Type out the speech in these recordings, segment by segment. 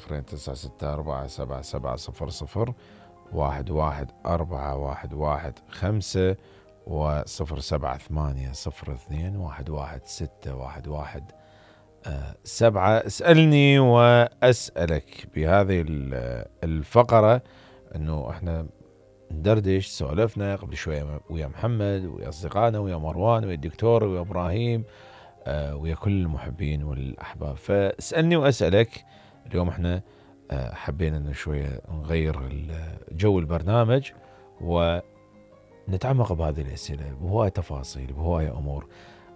009647700 114115 و07802116117. اسألني وأسألك بهذه الفقرة، انه احنا ندردش. سولفنا قبل شوية ويا محمد ويا أصدقائنا ويا مروان ويا الدكتور ويا إبراهيم ويا كل المحبين والأحباب. فاسألني وأسألك. اليوم احنا حبينا انه شوية نغير جو البرنامج ونتعمق بهذه الأسئلة بهواية تفاصيل بهواية أمور.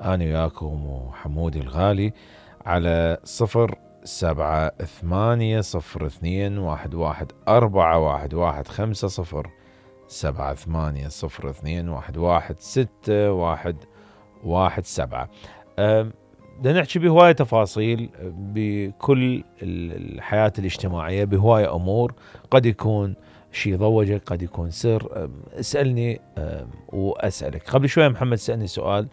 أنا وياكم وحمودي الغالي على 07802114115 07802116117. بدنا نحكي بهواية تفاصيل بكل الحياة الاجتماعية بهواية أمور. قد يكون شيء ضوجك، قد يكون سر. اسألني وأسألك. قبل شوية محمد سألني سؤال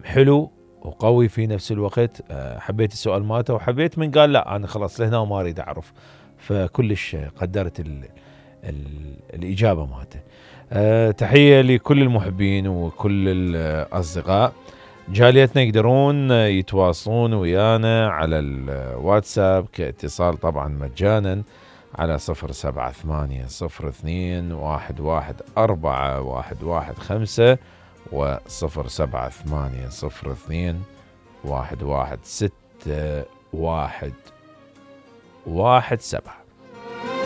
حلو وقوي في نفس الوقت. حبيت السؤال ماته وحبيت من قال لا أنا خلاص لهنا وما أريد أعرف، فكلش قدرت الإجابة ماته. تحية لكل المحبين وكل الأصدقاء. جاليتنا يقدرون يتواصلون ويانا على الواتساب كاتصال طبعا مجانا على 07802114115 و07802116117.